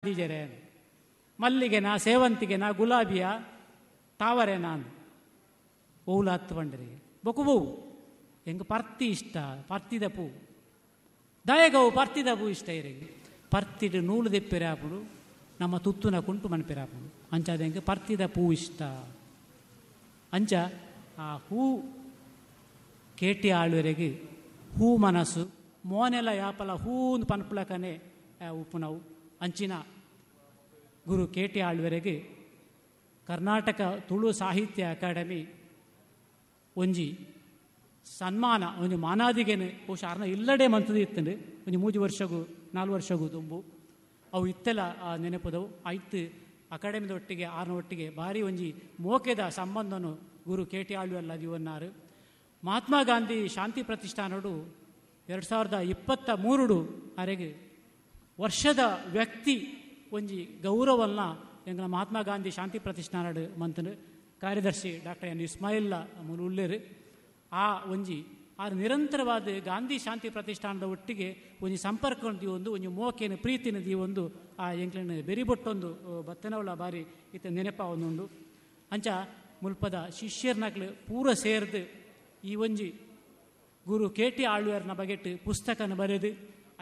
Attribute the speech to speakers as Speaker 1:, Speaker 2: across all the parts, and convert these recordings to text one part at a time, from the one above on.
Speaker 1: ದೀಜರೆ ಮಲ್ಲಿಗೆನಾ, ಸೇವಂತಿಗೆನಾ, ಗುಲಾಬಿಯ, ತಾವರೆನಾ ಓವುಲ ಅತ್ತು ಪಂಡರಿಗೆ. ಬೊಕ ಒವು? ಎಂಕ್ ಪರ್ತಿ ಇಷ್ಟ, ಪರ್ತಿದ ಪೂ. ದಾಯೆಗವು ಪರ್ತಿದ ಪೂ ಇಷ್ಟ ಇರೆಗ್? ಪರ್ತಿಡ್ ನೂಲು ದೆಪ್ಪೆರೆ ಆಪುಂಡು, ನಮ್ಮ ತುತ್ತುನ ಕುಂಟು ಮನ್ಪೆರೆ ಆಪುಂಡು, ಅಂಚಾದ್ ಎಂಕ್ ಪರ್ತಿದ ಪೂ ಇಷ್ಟ. ಅಂಚ ಆ ಹೂ ಕೇಟಿ ಆಳ್ವೆರೆಗ್ ಹೂ ಮನಸ್ಸು, ಮೋನೆಲ ಯಾಪಲ ಹೂಂದು ಪನ್ಪುಲಕನೆ ಉಪ್ಪುನವು. ಅಂಚಿನ ಗುರು ಕೆ ಟಿ ಆಳ್ವೆರೆಗ್ ಕರ್ನಾಟಕ ತುಳು ಸಾಹಿತ್ಯ ಅಕಾಡೆಮಿ ಒಂಜಿ ಸನ್ಮಾನ, ಒಂಜಿ ಮಾನಾದಿಗೆನು ಬಹುಶಃ ಆರ್ನ ಇಲ್ಲಡೆ ಮಂತುದು ಇತ್ತುಂಡು ಒಂಜಿ 3 ವರ್ಷಗು 4 ವರ್ಷಗು ದುಂಬು. ಅವು ಇತ್ತೆಲ ಆ ನೆನಪುದವು. ಐತ್ ಅಕಾಡೆಮಿದ ಒಟ್ಟಿಗೆ ಆರ್ನ ಒಟ್ಟಿಗೆ ಭಾರಿ ಒಂಜಿ ಮೋಕೆದ ಸಂಬಂಧನು ಗುರು ಕೆ ಟಿ ಆಳ್ವೆಲ್ಲ ದಿವನ್ನಾರು. ಮಹಾತ್ಮ ಗಾಂಧಿ ಶಾಂತಿ ಪ್ರತಿಷ್ಠಾನಡು 2023 ಅರೆಗೆ ವರ್ಷದ ವ್ಯಕ್ತಿ ಒಂಜಿ ಗೌರವನ್ನ ಎಂಗಳ ಮಹಾತ್ಮ ಗಾಂಧಿ ಶಾಂತಿ ಪ್ರತಿಷ್ಠಾನಡು ಮಂತನು ಕಾರ್ಯದರ್ಶಿ ಡಾಕ್ಟರ್ ಎನ್ ಇಸ್ಮಾಯಿಲ್ಲ ಮೂಲು ಉಲ್ಲೇರು. ಆ ಒಂಜಿ ಆರು ನಿರಂತರವಾದ ಗಾಂಧಿ ಶಾಂತಿ ಪ್ರತಿಷ್ಠಾನದ ಒಟ್ಟಿಗೆ ಒಂಜಿ ಸಂಪರ್ಕ ದೀವೊಂದು, ಒಂಜಿ ಮೋಕೆನ ಪ್ರೀತಿನ ದೀವೊಂದು ಆ ಎಂಕ್ಲೆನ ಬೆರಿಬೊಟ್ಟೊಂದು ಬತ್ತನವಳ ಬಾರಿ ಇತ್ತ ನೆನಪ ಒಂದುಂಡು. ಅಂಚ ಮುಲ್ಪದ ಶಿಷ್ಯರ್ನಕ್ಲು ಪೂರ ಸೇರ್ದು ಈ ಒಂಜಿ ಗುರು ಕೆ ಟಿ ಆಳ್ವೇರ್ನ ಬಗೆಟ್ ಪುಸ್ತಕನ ಬರೆದು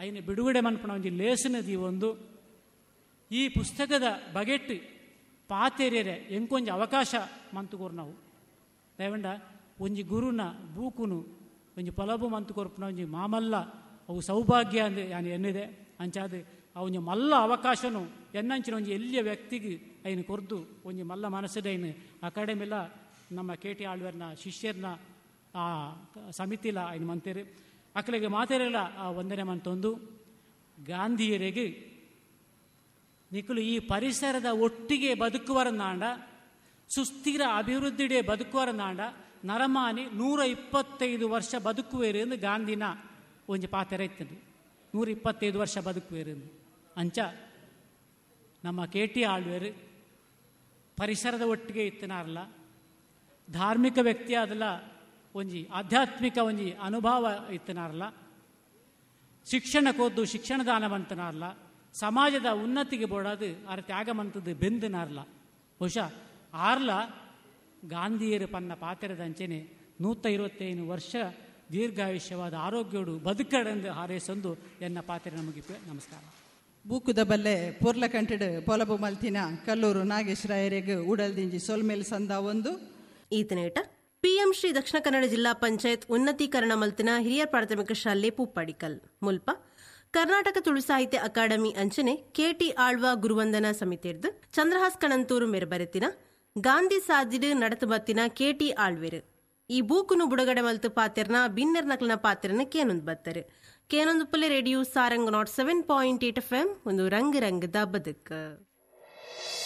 Speaker 1: ಐನ ಬಿಡುಗಡೆ ಮನ್ಪುನ ಒಂಜಿ ಲೇಸನ ದೀವೊಂದು ಈ ಪುಸ್ತಕದ ಬಗೆಟ್ ಪಾತೆರ್ಯರೆ ಎಂಕೊಂಜಿ ಅವಕಾಶ ಮಂತುಕೊರು ನಾವು. ದಯವಂಡ ಒಂಜಿ ಗುರುನ ಬೂಕುನು ಒಂಜಿ ಪೊಲಬು ಮಂತು ಕೊರ್ಪುನ ಒಂಜಿ ಮಾಮಲ್ಲ ಅವು ಸೌಭಾಗ್ಯ ಅಂದ್ ಯಾನ್ ಎನ್ನಿದೆ. ಅಂಚಾದ್ ಆ ಒಂಜಿ ಮಲ್ಲ ಅವಕಾಶನು ಎನ್ನಂಚಿನ ಒಂಜಿ ಎಲ್ಲಿಯ ವ್ಯಕ್ತಿಗೆ ಐನು ಕೊರ್ದು ಒಂಜಿ ಮಲ್ಲ ಮನಸ್ಸುಡು ಐನು ಅಕಾಡೆಮಿಲ ನಮ್ಮ ಕೆ ಟಿ ಆಳ್ವೇರ್ನ ಶಿಷ್ಯರ್ನ ಆ ಸಮಿತಿಲ ಐನು ಮಂತೇರು. ಅಕ್ಲೆಗ್ ಮಾತೆರೆಲ ಆ ವಂದನೆ ಮಂತೊಂದು ಗಾಂಧಿಯರಿಗೆ ನಿಕುಲು ಈ ಪರಿಸರದ ಒಟ್ಟಿಗೆ ಬದುಕುವರನಾಂಡ, ಸುಸ್ಥಿರ ಅಭಿವೃದ್ಧಿಡೆ ಬದುಕುವರನಾಂಡ ನರಮಾನಿ 125 ವರ್ಷ ಬದುಕುವೇರು ಎಂದು ಗಾಂಧಿನ ಒಂಜಿ ಪಾತೆರ ಇತ್ತದು. 125 ವರ್ಷ ಬದುಕುವೇರು ಎಂದು. ಅಂಚ ನಮ್ಮ ಕೆ ಟಿ ಆಳ್ವೇರು ಪರಿಸರದ ಒಟ್ಟಿಗೆ ಇತ್ತನಾರಲ್ಲ, ಧಾರ್ಮಿಕ ವ್ಯಕ್ತಿ ಆದಲ್ಲ, ಒಂಜಿ ಆಧ್ಯಾತ್ಮಿಕ ಒಂಜಿ ಅನುಭವ ಇತ್ತನಾರಲ್ಲ, ಶಿಕ್ಷಣಕ್ಕೋದ್ದು ಶಿಕ್ಷಣ ದಾನ ಮಂತನಾರಲ್ಲ, ಸಮಾಜದ ಉನ್ನತಿಗೆ ಬೋಡಾದು ಆರ ತ್ಯಾಗ ಮಂತದ್ದು ಬೆಂದನಾರಲ್ಲ. ಬಹುಶಃ ಆರ್ಲ ಗಾಂಧಿಯರು ಪನ್ನ ಪಾತೆರದಂಚೆನೆ 125 ವರ್ಷ ದೀರ್ಘಾಯುಷ್ಯವಾದ ಆರೋಗ್ಯೋಡು ಬದುಕಡೆಂದು ಹಾರೈಸೊಂದು ಎನ್ನ ಪಾತೆರ ನಮಗೆ. ನಮಸ್ಕಾರ.
Speaker 2: ಬೂಕುದ ಬಲ್ಲೆ ಪೊರ್ಲಕಂಟೆಡ್ ಪೊಲಬು ಮಲ್ತಿನ ಕಲ್ಲೂರು ನಾಗೇಶ್ ರಾಯರೆಗ್ ಉಡಲ್ದಿಂಜಿ ಸೊಲ್ಮೆಲ್ ಸಂದ ಒಂದು.
Speaker 3: ಈತನೇಟ ಪಿಎಂ ಶ್ರೀ ದಕ್ಷಿಣ ಕನ್ನಡ ಜಿಲ್ಲಾ ಪಂಚಾಯತ್ ಉನ್ನತೀಕರಣ ಮಲ್ತಿನ ಹಿರಿಯ ಪ್ರಾಥಮಿಕ ಶಾಲೆ ಪೂಪಾಡಿಕಲ್ ಮುಲ್ಪ ಕರ್ನಾಟಕ ತುಳು ಸಾಹಿತ್ಯ ಅಕಾಡೆಮಿ ಅಂಚನೆ ಕೆಟಿ ಆಳ್ವ ಗುರುವಂದನಾ ಸಮಿತಿರ್ದು ಚಂದ್ರಹಾಸ್ ಕಣಂತೂರು ಮೇರ್ ಬರೆತಿನ ಗಾಂಧಿ ಸಾದಿಡು ನಡತು ಬತ್ತಿನ ಕೆಟಿ ಆಳ್ವೆರು ಈ ಬೂಕುನು ಬುಡಗಡೆ ಮಲ್ತು ಪಾತೆರ್ನ ಬಿನ್ನೆರ್ ನಕಲಿನ ಪಾತೆರನ ಕೇನೊಂದು ಬತ್ತರು. ಕೇನೊಂದು ಪುಲೆ ರೇಡಿಯೋ ಸಾರಂಗ್ 107.8 ಎಫ್ ಒಂದು ರಂಗ್ ರಂಗದ ಬದುಕು.